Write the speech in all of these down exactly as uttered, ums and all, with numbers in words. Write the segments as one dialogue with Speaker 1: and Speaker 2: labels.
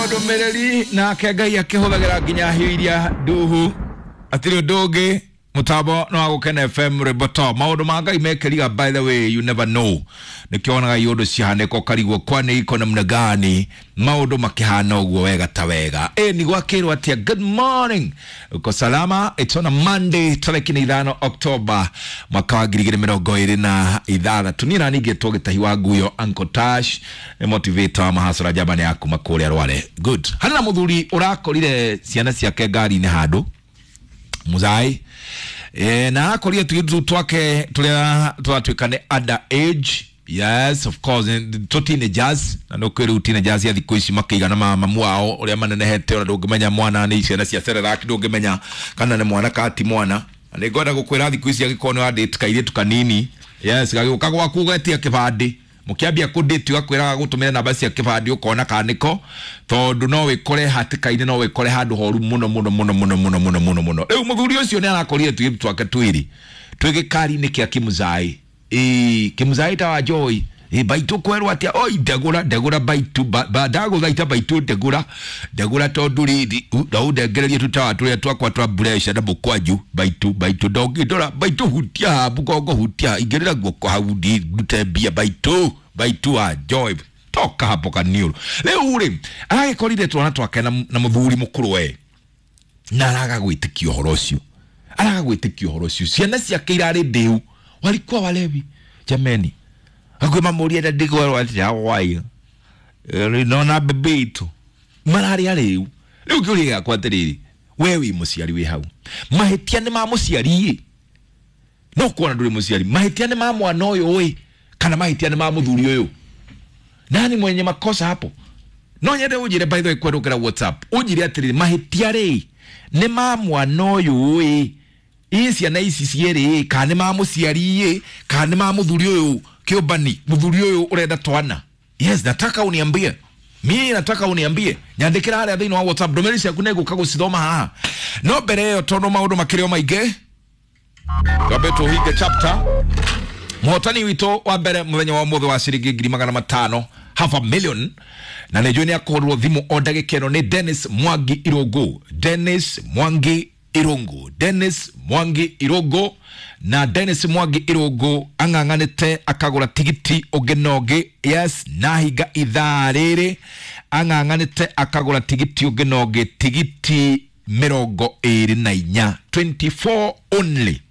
Speaker 1: Ndũmĩrĩri nake Ngai akĩhũthagĩra nginya hiũ iria nduhu atirĩ ũndũ ũngĩ mũtambo no wa Gũkena F M rwĩmbo to maũndũ ma Ngai mekĩriga. By the way, you never know, nĩkĩonaga iũndũ ciahanĩka ũkarigwo kwani iko namna gani maũndũ makĩhana ũguo wega ta wega. Ĩ nĩ gwakĩrwo atĩa? Good morning, uko salama? It's on a Monday, tarĩki nĩ ithano October mwaka wa ngiri igĩrĩ mĩrongo ĩrĩ na ithathatũ. Niĩ nani ngĩtwo Gĩtahi wa Nguyo, Uncle Tash nĩ motivator wa mahasara njamba nĩ ya kuma kũrĩa Rware. Good. Harĩ na mũthuri ũrakorire ciana ciake ngari-inĩ handũ muzai e, na arakorire tuitu twake turia twatuĩka nĩ under age. Yes, of course, to teenagers, na no kwĩrĩu teenagers ya thikũ ici makĩigana ma mamu wao ũrĩa manenehete, ona ndũngĩmenya mwana nĩ ciana cia Cerelac, ndũngĩmenya kana nĩ mwana kana ti mwana. Na nĩ ngwenda gũkwĩra thikũ ici angĩkorwo nĩ wa-date kairĩtu kanini, yes, gagĩũka gwaku ũgetia kĩbandĩ, mũkĩambia kũ-date ũgakwĩraga gũtũmĩra namba cia kĩbandĩ ũkona kana nĩko, tondũ no wĩkore hatĩka-inĩ, no wĩkore handũ horu mũno mũno mũno mũno mũno mũno mũno mũno. Rĩu mũthuri ũcio nĩ arakorire tũirĩtu twake twĩrĩ twĩ gĩkari-inĩ kĩa kĩmũzai. Ĩĩ, kĩmũzai ta wa Joy. Ĩ, baitũ kwerwo atĩa? Oi, ndegũra, ndegũra baitu, ba, ba, ndagũthaita baitũ ndegũra, ndegũra tondũ rĩrĩ, no ũndengererie tũtawa tũrĩa twakwa twa mbureca na mũkwanju, baitu, baitu, ndũngĩndora, baitu hutia haha, mũgongo hutia, ingĩrĩra guoko hau ndute mbia, baitu, baitu wa Joy. Toka hapo kaniũrũ. Rĩu rĩ, aragĩkorire twana twake na, na mũthuri mũkũrũ we, na araga gwĩtĩkia ũhoro ũcio, araga gwĩtĩkia ũhoro ũcio. Ciana ciake irarĩ ndĩu, walikuwa walevi jameni. Hakuhĩ mamũrie na ndigwerwo atĩa wai nona bebe itũ mararĩ arĩu. Rĩu kĩũria gĩakwa atĩrĩrĩ, we wĩ mũciari wĩ hau, mahĩtia nĩ ma mũciari ĩ? No kuona ndũrĩ mũciari, mahĩtia nĩ ma mwana ũyũ ĩ, kana mahĩtia nĩ ma mũthuri ũyũ? Nani mwenye makosa hapo? No nyende ũnjĩre, by the way, kwerũkĩra WhatsApp ũnjĩre atĩrĩrĩ, mahĩtia rĩ nĩ ma mwana ũyũ ĩ, ĩ ciana ici cierĩ ĩ, kana nĩ ma mũciari ĩ, kana nĩ ma mũthuri ũyũ kĩũmbani, mũthuri ũyũ ũrenda twana? Yes, nataka uniambie. Mimi nataka uniambie. Nyandĩkĩra harĩa thĩinĩ wa WhatsApp, ndũmĩrĩri ciaku nĩngũka gũcithoma haha. No mbere ĩyo tondũ maũndũ makĩrĩ o maingĩ, twambe tũhinge chapter. Mũhotani witũ wa mbere mũthenya wa ũmũthĩ wa ciringi ngiri magana matano, half a million, na nĩ njũĩ nĩ akũhũrwo thimũ o ndagĩka ĩno nĩ Dennis Mwangi Irũngũ. Dennis Mwangi Irũngũ, Dennis Mwangi Irũngũ. Na Dennis Mwangi Irũngũ ang'ang'anĩte akagũra tigiti ũngĩ na ũngĩ. Yes, na hinga ithaa rĩrĩ ang'ang'anĩte akagũra tigiti ũngĩ na ũngĩ, tigiti mĩrongo ĩrĩ na inya, twenty-four only,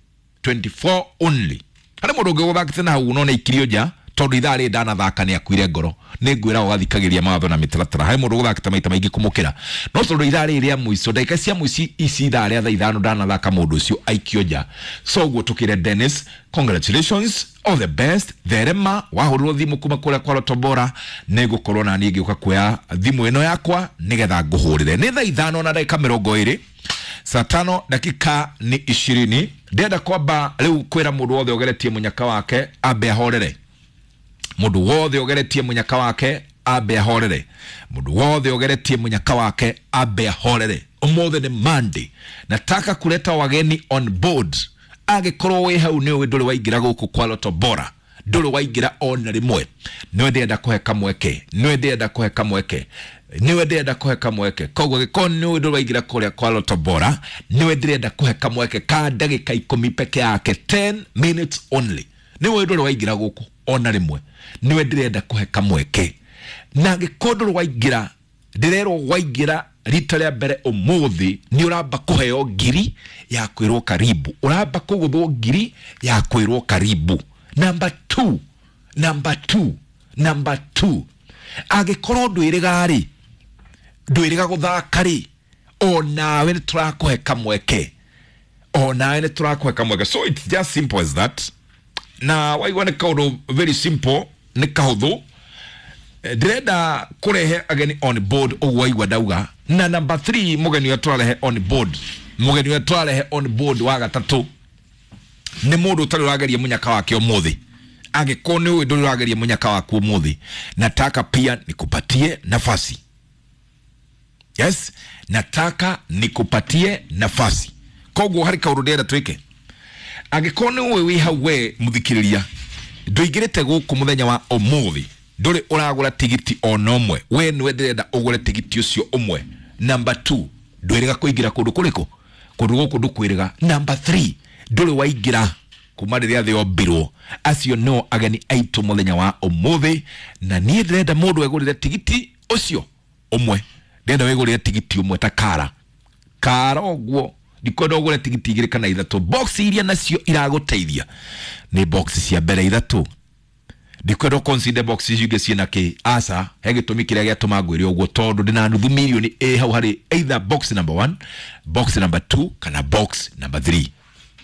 Speaker 1: twenty-four only. Harĩ mũndũ ũngĩ ũgũthakĩte na hau no nĩ aikirio nja tondũ ithaa rĩrĩ ndanathaka nĩ akuire ngoro. Nĩ ngwĩra ũgathikagĩria mawatho na mĩtaratara. Harĩ mũndũ ũgũthakĩte maita maingĩ kũmũkĩra, no tondũ ithaa rĩrĩ rĩa mũico, ndagĩka cia mũico ici ithaa rĩa thaa ithano ndanathaka, mũndũ ũcio aikio nja. So ũguo tũkĩre Dennis, congratulations, all the best. Therema wahũrĩrwo thimũ kuma kũrĩa kwa Lotto Bora, nĩ ngũkorwo na niĩ ngĩũka kuoya thimũ ĩno yakwa nĩgetha ngũhũrĩre. Nĩ thaa ithano na ndagĩka mĩrongo ĩrĩ, saa tano dakika ni ishirini. Ndĩrenda kwamba rĩu kwĩra mũndũ wothe ũgeretie mũnyaka wake ambe ahorere. Mũndũ wothe ũgeretie mũnyaka wake ambe ahorere. Mũndũ wothe ũgeretie mũnyaka wake ambe ahorere. Ũmũthĩ nĩ Monday, nataka kuleta wageni on board. Angĩkorwo wĩ hau nĩ ũĩ ndũrĩ waingĩra gũkũ kwa Lotto Bora, ndũrĩ waingĩra ona rĩmwe, nĩwe ndĩrenda kũhe kamweke, nĩwe ndĩrenda kũhe kamweke, nĩwe ndĩrenda kũhe kamweke. Koguo angĩkorwo nĩ ũĩ ndũrĩ waingĩra kũrĩa kwa Lotto Bora, nĩwe ndĩrenda kũhe kamweke ka ndagĩka ikũmi peke yake, ten minutes only. Nĩwe ndũrĩ waingĩra gũkũ ona rĩmwe, nĩwe ndĩrenda kũhe kamweke. Na angĩkorwo ndũrĩ waingĩra, ndĩrerwo waingĩra rita rĩa mbere ũmũthĩ, nĩ ũramba kũheo ngiri ya kwĩrwo karibu, ũramba kũgũthwo ngiri ya kwĩrwo karibu. Number two, number two, number two, angĩkorwo ndwĩrĩga rĩ, ndwĩrĩga gũthaka rĩ, onawe nĩ tũrakũhe kamweke, onawe nĩ tũrakũhe kamweke. So it's just simple as that. Na waigua nĩ kaũndũ very simple, nĩ kahũthũ. Ndĩrenda kũrehe ageni on board ũguo waigua ndauga. Na number three, mũgeni ũrĩa tũrarehe on board, mũgeni ũrĩa tũrarehe on board wa gatatũ nĩ mũndũ ũtarĩ ũrageria mũnyaka wake ũmũthĩ. Angĩkorwo nĩ ũĩ ndũrĩ ũrageria mũnyaka waku ũmũthĩ, nataka pia nikupatie nafasi. Yes, nataka nikupatie nafasi. Koguo harĩ kaũndũ ndĩrenda twĩke. Angĩkorwo nĩ ũĩ wĩ hau we mũthikĩrĩria, ndũingĩrĩte gũkũ mũthenya wa ũmũthĩ, Ndũrĩ ũragũra tigiti ona ũmwe, we nĩwe ndĩrenda ũgũre tigiti ũcio ũmwe. Number two, ndwĩrĩga kũingĩra kũndũ kũrĩkũ? Kũndũ gũkũ ndũkwĩrĩga. Number three, ndũrĩ waingĩra kuma rĩrĩa thĩ yombirwo. Acio no ageni aitũ mũthenya wa ũmũthĩ, na niĩ ndĩrenda mũndũ egũrĩre tigiti ũcio ũmwe. Ndĩrenda wĩgũrĩre tigiti ũmwe ta kara kara ũguo, ndikwenda ũgũre tigiti igĩrĩ kana ithatũ. Box iria nacio iragũteithia nĩ box cia mbere ithatũ. Ndikwenda ũconsider box icio ingĩ ciĩna kĩ aca. He gĩtũmi kĩrĩa gĩatũma ngwĩre ũguo, tondũ ndĩna nuthu mirioni ĩ hau harĩ either box number one, box number two kana box number three,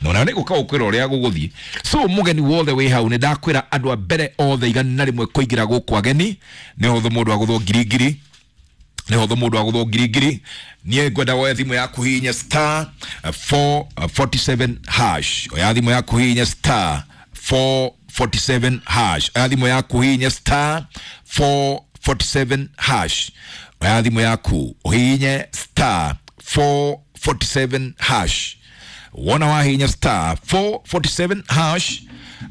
Speaker 1: na ona nĩ gũka gũkwĩra ũrĩa gũgũthiĩ. So mũgeni wothe wĩ hau, nĩ ndakwĩra andũ a mbere othe igana rĩmwe kũingĩra gũkũ ageni nĩ hũthũ mũndũ agũthwo ngiri ngiri, nĩ hũthũ mũndũ agũthwo ngiri ngiri. Niĩ ngwenda woe thimũ yaku hihinya star four forty-seven hash. Oya thimũ yaku hihinya star four forty-seven hash. Oya thimũ yaku hihinya star four forty-seven hash. Oya thimũ yaku ũhihinye star four forty-seven hash. Wona wahihinya star four forty-seven hash,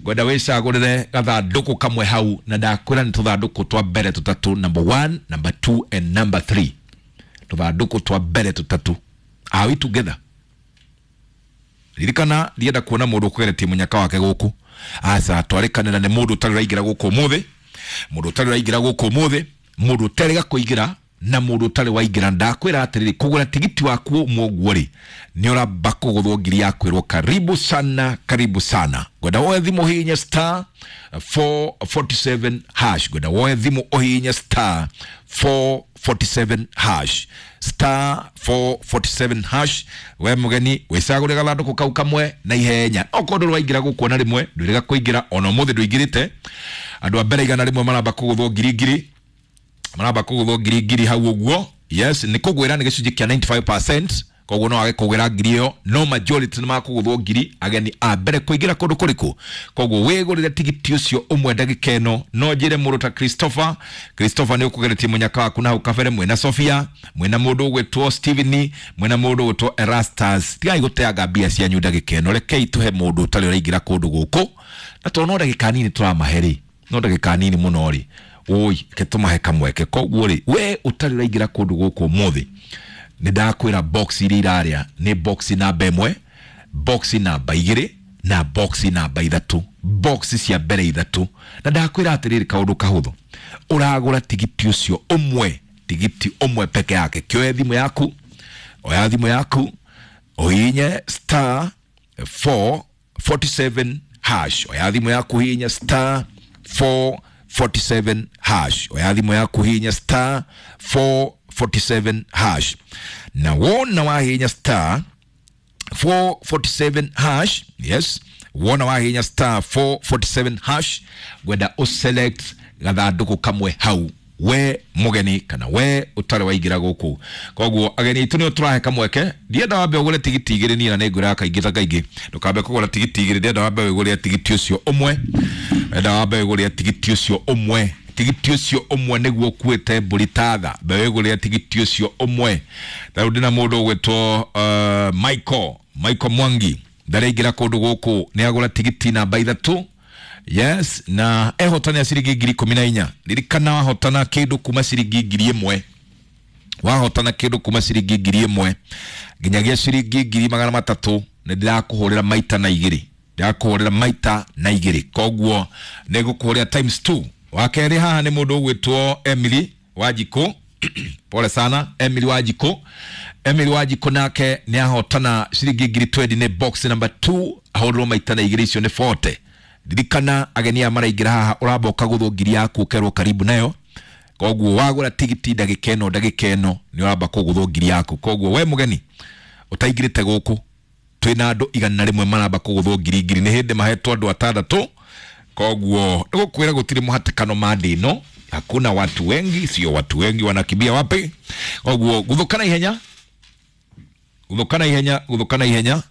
Speaker 1: ngwenda wĩcagũrĩre gathandũkũ kamwe hau, na ndakwĩra nĩ tũthandũkũ twa mbere tũtatũ, number one, number two and number three. Tũthandũkũ twa mbere tũtatũ. Are we together? Ririkana ndienda kuona mũndũ ũkũgeretie mũnyaka wake gũkũ. Aca, twarĩkanĩra nĩ mũndũ ũtarĩ ũraingĩra gũkũ ũmũthĩ, mũndũ ũtarĩ ũraingĩra gũkũ ũmũthĩ, mũndũ ũterĩga kũingĩra na mũndũ ũtarĩ waingĩra. Ndakwĩra atĩrĩrĩ, kũgũra tigiti waku ũmwe ũguo rĩ, nĩ ũramba kũgũthwo ngiri ya kwĩrwo karibu sana, karibu sana. Ngwenda woe thimũ ũhihinye star four forty-seven hash. Ngwenda woe thimũ ũhihinye star four forty-seven hash, star four forty-seven hash. We mũgeni wĩcagũre gathandũkũ kau kamwe na ihenya. Okorwo ndũrĩ waingĩra gũkũ ona rĩmwe, ndwĩrĩga kũingĩra ona ũmũthĩ ndũingĩrĩte. Andũ a mbere igana rĩmwe maramba kũgũthwo ngiri ngiri, maramba kũgũthwo ngiri ngiri hau ũguo. Yes, nĩ kũgwĩra nĩ gĩcunjĩ kĩa ninety-five percent, koguo no wage kũgwĩra ngiri ĩyo, no majority nĩ makũgũthwo ngiri ageni a mbere kũingĩra kũndũ kũrĩkũ. Koguo wĩgũrĩre tigiti ũcio ũmwe ndagĩka ĩno. No njĩre mũndũ ta Christopher, Christopher nĩ ũkũgeretie mũnyaka waku na hau kabere, mwĩna Sophia, mwĩna mũndũ ũgwĩtwo Steven, mwĩna mũndũ ũgwĩtwo Erastus. Tigai gũteanga mbia cianyu ndagĩka ĩno, rekei tũhe mũndũ ũtarĩ ũraingĩra kũndũ gũkũ, na tondũ no ndagĩka nini tũramahe rĩ, no ndagĩka nini mũno rĩ, oi reke tũmahe kamweke. Koguo rĩ, we ũtarĩ ũraingĩra kũndũ gũkũ ũmũthĩ, nĩ ndakwĩra box iria irarĩa nĩ box namba ĩmwe, box namba igĩrĩ na box namba ithatũ, box cia mbere ithatũ. Na ndakwĩra atĩrĩrĩ, kaũndũ kahũthũ, ũragũra tigiti ũcio ũmwe, tigiti ũmwe peke yake. Kĩoe thimũ yaku, oya thimũ yaku ũhihinye star four forty-seven hash. Oya thimũ yaku ũhihinye star four forty-seven hash. Oya thimũ yaku ũhihinye star four forty-seven hash. Na wona wahihinya star four forty-seven hash, yes, wona wahihinya star four forty-seven hash, ngwenda ũselect gathandũkũ kamwe hau, we mũgeni kana we ũtarĩ waingĩra gũkũ. Koguo ageni aitũ nĩo tũrahe kamweke. Ndienda wambe ũgũre tigiti igĩrĩ, niĩ na nĩngwĩraga kaingĩ ta kaingĩ, ndũkambe kũgũra tigiti igĩrĩ, ndĩrenda wambe wĩgũrĩre tigiti ũcio ũmwe, ndĩrenda wambe wĩgũrĩre tigiti ũcio ũmwe. Tigiti ũcio ũmwe nĩguo ũkuĩte mbũri ta tha, mbe wĩgũrĩre tigiti ũcio ũmwe. Ta rĩu ndĩna mũndũ ũgwĩtwo, uh, Michael, Michael Mwangi, ndaraingĩra kũndũ gũkũ, nĩ agũra tigiti namba ithatũ. Yes, na ehotania ciringi ngiri ikũmi na inya. Ririkana wahotana kĩndũ kuma ciringi ngiri ĩmwe, wahotana kĩndũ kuma ciringi ngiri ĩmwe nginyagia ciringi ngiri magana matatũ, nĩ ndĩrakũhũrĩra maita na igĩrĩ, ndĩrakũhũrĩra maita na igĩrĩ. Koguo nĩ ngũkũhũrĩra times two. Wa kerĩ haha nĩ mũndũ ũgwĩtwo Emily Wanjikũ. Pole sana Emily Wanjikũ. Emily Wanjikũ nake nĩ ahotana ciringi ngiri twenty, nĩ box number two, ahũrĩrwo maita na igĩrĩ, icio nĩ forty. Ririkana ageni aya maraingĩra haha, ũramba ũkagũthwo ngiri yaku ũkerwo karibu nayo. Koguo wagũra tigiti ndagĩka ĩno, ndagĩka ĩno nĩ ũramba kũgũthwo ngiri yaku. Koguo we mũgeni ũtaingĩrĩte gũkũ, twĩna andũ igana rĩmwe maramba kũgũthwo ngiri ngiri, nĩ hĩndĩ mahetwo andũ atandatũ. Koguo nĩgũkwĩra gũtirĩ mũhatĩkano mande ĩno, hakuna watu wengi, sio watu wengi wanakimbia wapi. Koguo guthũka na ihenya, guthũka na ihenya, guthũka na ihenya,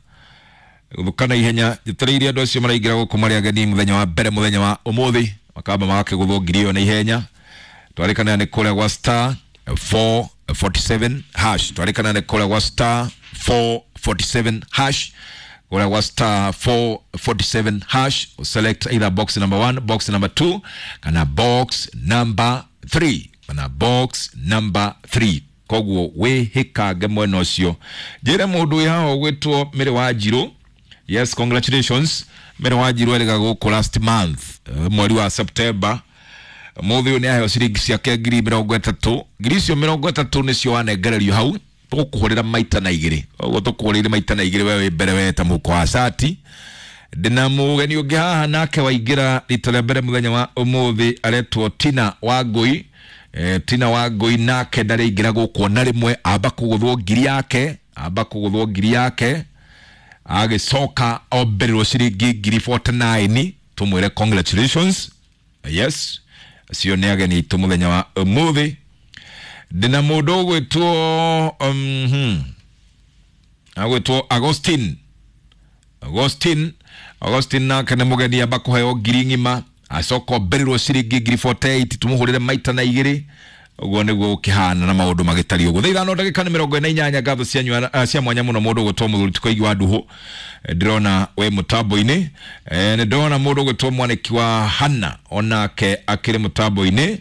Speaker 1: guthũka na ihenya. Njetereire andũ acio maraingĩra gũkũ marĩ ageni mũthenya wa mbere, mũthenya wa ũmũthĩ, makamba magakĩgũthwo ngiri ĩyo na ihenya. Twarĩkanĩra nĩ kũrĩa gwa star four forty-seven hash, twarĩkanĩra nĩ kũrĩa gwa star four forty-seven hash. Kũrĩa gwa star four forty-seven hash, select either box number one, box number two kana box number three, kana box number three. Koguo wĩhĩkange mwena ũcio. Njĩre mũndũ wĩ haha ũgwĩtwo Mĩrĩ wa Njirũ. Yes, congratulations. Mĩrĩ wa Njirũ erĩga gũkũ last month, mweri wa September. Mũthĩ ũyũ nĩ aheo ciringi ciake ngiri mĩrongo ĩtatũ. Ngiri icio mĩrongo ĩtatũ nĩcio wanengererio hau. Tũgũkũhũrĩra maita na igĩrĩ. Ũguo tũkũhũrĩire maita na igĩrĩ we wĩ mbere we ta mũhuko wa cati. Ndĩna mũgeni ũngĩ haha nake waingĩra rita rĩa mbere mũthenya wa ũmũthĩ, aretwo Tina Wangũi. Eh, Tina Wangũi nake ndarĩingĩra gũkũ ona rĩmwe, amba kũgũthwo ngiri yake, amba kũgũthwo ngiri yake, agĩcoka ombererwo ciringi ngiri forty-nine. Tũmwĩre congratulations. Yes, acio nĩ ageni aitũ mũthenya wa ũmũthĩ. Ndĩna mũndũ ũgwĩtwo, um, hmm, agwĩtwo Agustin. Agustin, Agustin nake nĩ mũgeni, amba kũheo ngiri ng'ima, acoka ombererwo ciringi ngiri forty-eight, tũmũhũrĩre maita na igĩrĩ. Ũguo nĩguo gũkĩhana na maũndũ magĩtariĩ ũguo. Thaa ithano ndagĩka nĩ mĩrongo ĩna inyanya. Ngatho cianyu, uh, cia mwanya mũno mũndũ ũgwĩtwo mũthuri Tũkoigi wa Nduhũ. Ndĩrona wĩ mũtambo-inĩ. Eh, nĩ ndĩrona mũndũ ũgwĩtwo mwanĩki wa Hana onake akĩrĩ mũtambo-inĩ.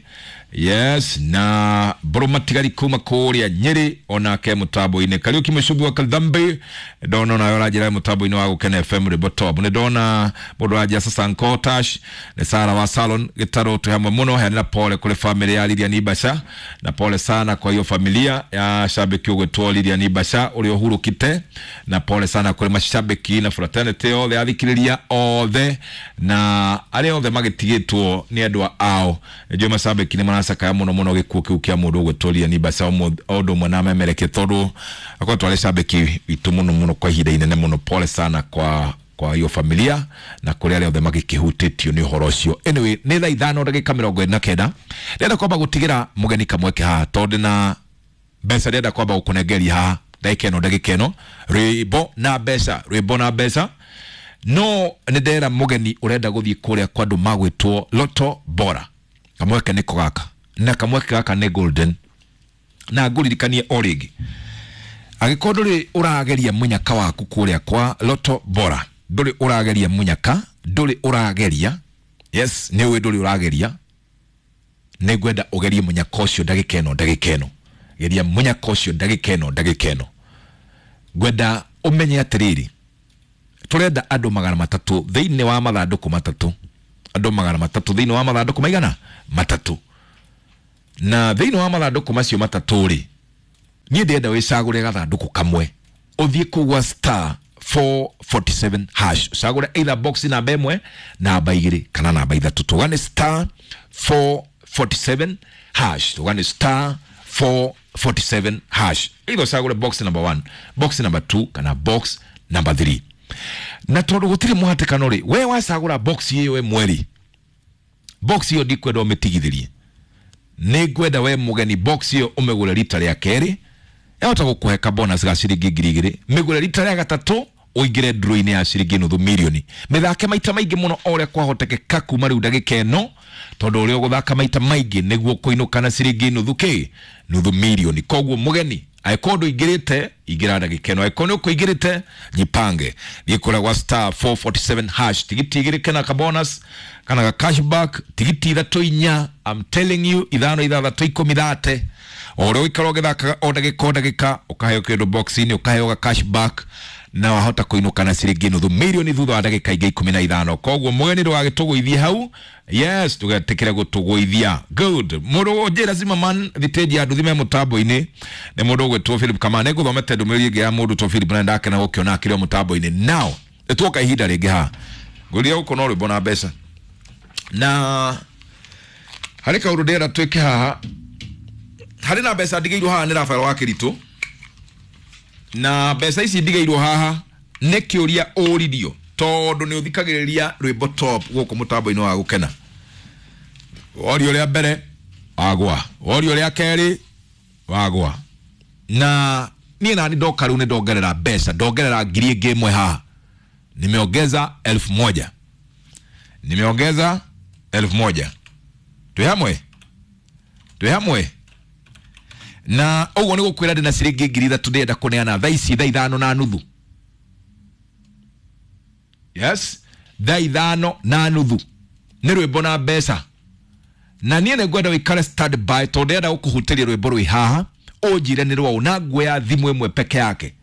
Speaker 1: Yes, na Mbũrũ Matigari kuma kũrĩa Nyĩrĩ onake mũtambo-inĩ. Kariũki Mũcumbi wa Kalthambi ndona onawe ũranjĩra mũtambo-inĩ wa Gũkena F M Rwĩmbo Top. Nĩ ndona mũndũ ũranjĩra Sasa Nkotash, nĩ Sara wa Salon Gĩtarũ, twĩ hamwe mũno. Heanĩra pole kũrĩ family ya Lilian Ibasha, na pole sana kwa hiyo familia ya shabiki ũgwĩtwo Lilian Ibasha ũrĩa ũhurũkite, na pole sana kũrĩ mashabiki na fraternity othe, athikĩrĩria othe na arĩa othe magĩtigĩtwo nĩ endwa ao. Nĩnjũĩ mashabiki nĩ maracakaya mũno mũno gĩkuũ kĩu kĩa mũndũ ũgwĩtwo Lilian Ibasha, o ũndũ ũmwe na memereke, tondũ akoretwo arĩ shabiki witũ mũno mũno kwa ihinda inene mũno. Pole sana kwa kwa hiyo familia na kũrĩ arĩa othe magĩkĩhutĩtio nĩ ũhoro ũcio. Anyway, nĩ thaa ithano ndagĩka mĩrongo ĩna na kenda. Ndĩrenda kwamba gũtigĩra mũgeni kamweke haha tondũ na mbeca ndĩrenda kwamba gũkũnengeria haha ndagĩka ĩno, ndagĩka ĩno, rwĩmbo na mbeca, rwĩmbo na mbeca. No nĩ ndera mũgeni ũrenda gũthiĩ kũrĩa kwa andũ magwĩtwo Lotto Bora, kamweke nĩko gaka, na kamweke gaka nĩ golden. Na ngũririkanie o rĩngĩ, angĩkorwo ndũrĩ ũrageria mũnyaka waku kũrĩa kwa Lotto Bora, ndũrĩ ũrageria mũnyaka, ndũrĩ ũrageria, yes, nĩ ũĩ ndũrĩ ũrageria, nĩ ngwenda ũgerie mũnyaka ũcio ndagĩka ĩno, ndagĩka ĩno. Geria mũnyaka ũcio ndagĩka ĩno, ndagĩka ĩno. Ngwenda ũmenye atĩrĩrĩ, tũrenda andũ magana matatũ thĩinĩ wa mathandũkũ matatũ, andũ magana matatũ thĩinĩ wa mathandũkũ maigana matatũ. Na thĩinĩ wa mathandũkũ macio matatũ rĩ, niĩ ndĩrenda wĩcagũre gathandũkũ kamwe, ũthiĩ kũu gwa star four forty-seven hash, ũcagũre either box namba ĩmwe, namba igĩrĩ kana namba ithatũ. Tũgane star four forty-seven hash, tũgane star four forty-seven hash, either ũcagũre box number one, box number two kana box number three. Na tondũ gũtirĩ mũhatĩkano rĩ, we wacagũra box ĩyo ĩmwe rĩ, box ĩyo ndikwenda ũmĩtigithĩrie, nĩ ngwenda we mũgeni box ĩyo ũmĩgũre rita rĩa kerĩ, yahota gũkũhe ka bonus ga ciringi ngiri igĩrĩ, mĩgũre rita rĩa gatatũ ũingĩre draw-inĩ ya ciringi nuthu mirioni. Mĩthake maita maingĩ mũno o ũrĩa kwahotekeka kuma rĩu ndagĩka ĩno, tondũ ũrĩa ũgũthaka maita maingĩ nĩguo kũinũka na ciringi nuthu kĩ, nuthu mirioni. Koguo mũgeni, angĩkorwo ndũingĩrĩte, ingĩra ndagĩka ĩno, angĩkorwo nĩ ũkũingĩrĩte, jipange. Thiĩ kũrĩa gwa star four forty-seven hash, tigiti igĩrĩ kana ka bonus kana ka cashback, tigiti ithatũ inya, I'm telling you, ithano ithathatũ ikũmi thate. O ũrĩa ũikara ũgĩthakaga o ndagĩka o ndagĩka, ũkaheo kĩndũ box-inĩ, ũkaheo ga cashback, na wahota kũinũka na ciringi nuthu mirioni thutha wa ndagĩka ingĩ ikũmi na ithano. Koguo mũgeni ndũgagĩtũgũithie hau, yes, ndũgetĩkĩre gũtũgũithia. Good. Mũndũ ũnjĩra Zimmerman thitĩnji ya nduthi me mũtambo-inĩ nĩ mũndũ ũgwĩtwo Philip Kamau. Nĩngũthomete ndũmĩrĩri ĩngĩ ya mũndũ to Philip na ndakena gũkĩona akĩrĩ o mũtambo-inĩ. Now, nĩtuoka ihinda rĩngĩ haha. Ngũria gũkũ no rwĩmbo na mbeca. Na harĩ kaũndũ ndĩrenda twĩke haha. Harĩ na mbeca ndigĩirwo haha nĩ Rafael wa Kĩritũ. Na mbeca ici ndigĩirwo haha nĩ kĩũria ũririo tondũ nĩ ũthikagĩrĩria rwĩmbo top gũkũ mũtambo-inĩ wa Gũkena. Worio rĩa mbere wagwa, worio rĩa kerĩ wagwa. Na niĩ nani ndoka rĩu nĩ ndongerera mbeca, ndongerera ngiri ĩngĩ ĩmwe haha. Nimeongeza elfu moja. Nimeongeza elfu moja. Twĩ hamwe? Twĩ hamwe? Na ũguo nĩ gũkwĩra ndĩna ciringi ngiri ithatũ ndĩrenda kũneana thaa ici thaa ithano na nuthu. Yes, thaa ithano na nuthu nĩ rwĩmbo na mbeca. Na niĩ nĩ ngwenda wĩikare stand by tondũ ndĩrenda gũkũhutĩria rwĩmbo rwĩ haha ũnjĩre nĩ rwaũ, na nguoya thimũ ĩmwe peke yake,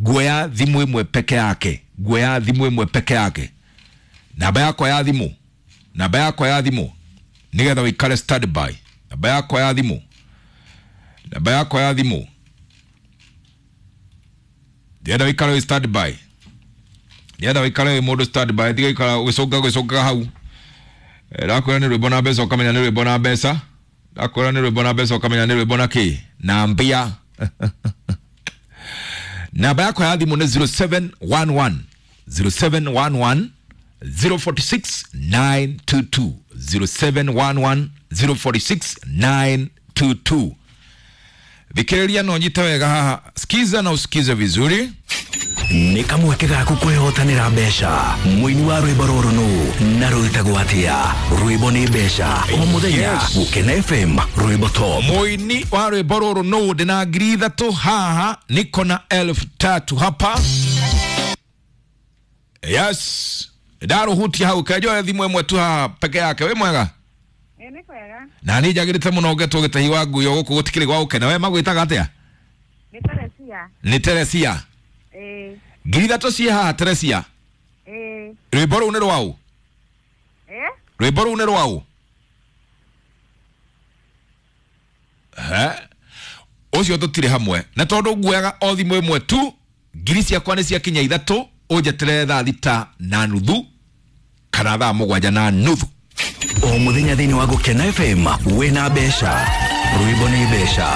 Speaker 1: nguoya thimũ ĩmwe peke yake, nguoya thimũ ĩmwe peke yake. Namba yakwa ya thimũ, namba yakwa ya thimũ nĩgetha wĩikare stand by, namba yakwa ya thimũ, namba yakwa ya thimũ, ndĩrenda wĩikare wĩ stand by, ndĩrenda wĩikare wĩ mũndũ stand by, tiga ikara ũgĩcũnga ũgĩcũngaga hau. Ndakwĩra nĩ rwĩmbo na mbeca ũkamenya nĩ rwĩmbo na mbeca, ndakwĩra nĩ rwĩmbo na mbeca ũkamenya nĩ rwĩmbo na kĩ na mbia. Namba yakwa ya thimũ nĩ zero seven one one zero seven one one zero forty six nine two two zero seven one one zero forty six nine two two. Thikĩrĩria na ũnyite wega haha, sikiza na usikize vizuri.
Speaker 2: Nĩ kamweke gaku kwĩhotanĩra mbeca. Mũini wa rwĩmbo rũrũ nũ na rwĩtagwo atĩa? Rwĩmbo nĩ mbeca o mũthenya.
Speaker 1: Yes.
Speaker 2: Gũkena F M rwĩmbo top.
Speaker 1: Mũini wa rwĩmbo rũrũ nũ? Ndĩna ngiri ithatũ haha, niko na elfu tatu hapa. Yes, ndaruhutia hau kenjoe thimũ ĩmwe tu haha peke yake. Wĩ mwega?
Speaker 3: Ĩ, nĩ kwega.
Speaker 1: Na niĩ njagĩrĩte mũno ngetwo gĩtahi wa nguo gũkũ gũtikĩrĩ gwa gũkena. We magwĩtaga atĩa?
Speaker 3: Nĩ Teresia.
Speaker 1: Nĩ Teresia.
Speaker 3: Ĩ.
Speaker 1: Ngiri ithatũ ciĩ haha Teresia.
Speaker 3: Ĩ.
Speaker 1: Rwĩmbo rũu nĩ rwaũ?
Speaker 3: Ĩ?
Speaker 1: Rwĩmbo rũu nĩ rwaũ? He? Ũcio tũtirĩ hamwe. Na tondũ nguoyaga o thimũ ĩmwe tu, ngiri ciakwa nĩ ciakinya ithatũ, ũnjeterere thaa thita na nuthu kana thaa mũgwanja na nuthu.
Speaker 2: O mũthenya thĩinĩ wa Gũkena F M wĩna mbeca. Rwĩmbo nĩ mbeca.